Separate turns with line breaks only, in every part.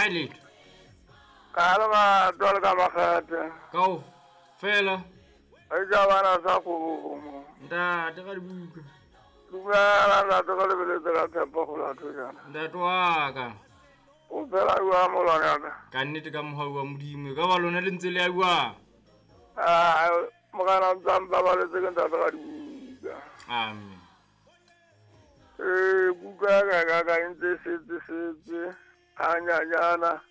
Kae letho?
Ka le batho le ka makgethe.
Kao fela.
E ja bana sa kgomo.
Ntate ka dibuka.
Dumela ntate ka lebeletse ka tshepo go latho jana.
Ntate wa ka.
O phela jwang molwane wa ka?
Ka nnete ka mohau wa Modimo. E ka ba lona le ntse le ya jwang?
Ah, morena o ntse a mpabaletse ke ntate ka dibuka.
Amen.
Ee, buka ya ka ka ka e ntse e setse setse hanyanyana.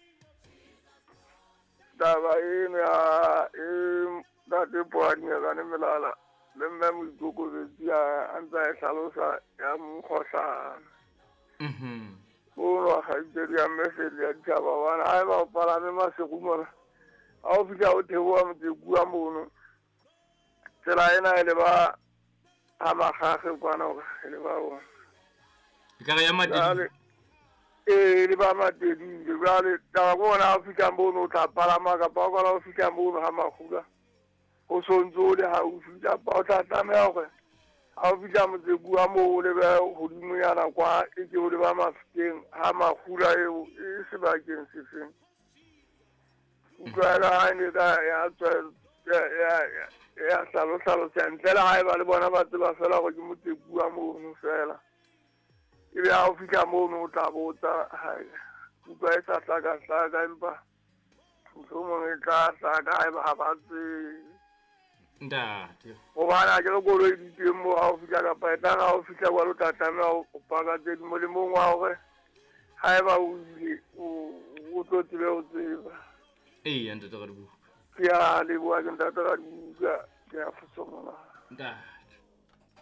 Taba eno ya e ntate Poadinyakane Melala le mme Moikokobetsi a ntse a e hlalosa ya mokgohlane. Mono kgaitsedi ya mme Seli ya ditjhaba hobane ha eba o palame Maseru mona, ha o fihla o theoha Motsekua mono, tsela ena e leba ha Makgakge kwana hore e leba bona.
E ka re ya Matedile.
Ee, e leba Matedile. Jwale taba ke hona ha o fihla mono o tla palama kapa o kala o fihla mono ha Makgula o sontso o le haufi kapa o tla tlameha hore ha o fihla Motsekua moo o lebe hodimonyana kwa e ke o leba Mafikeng ha Makgula eo e sebakeng sefeng. Utlwa ha ne ka ya tswa ya hlalohlalosa ntle le haeba le bona ba tseba fela hore ke Motsekua mono fela. Ebe ha o fihla mono o tla botsa utlwa e sa hlaka-hlaka empa mohlomong e tla hlaka haeba ha ba tsebe.
Ntate.
Hobane ha ke re koloi di teng moo ha o fihla kapa e tla re ha o fihla kwalo o tla tlameha ho paka tse ding molemong wa hore haeba o ile o tlo tsebe ho tseba.
Eya ntate Radibuka.
Ke a leboha ke ntate Radibuka ke a fosomola.
Ntate.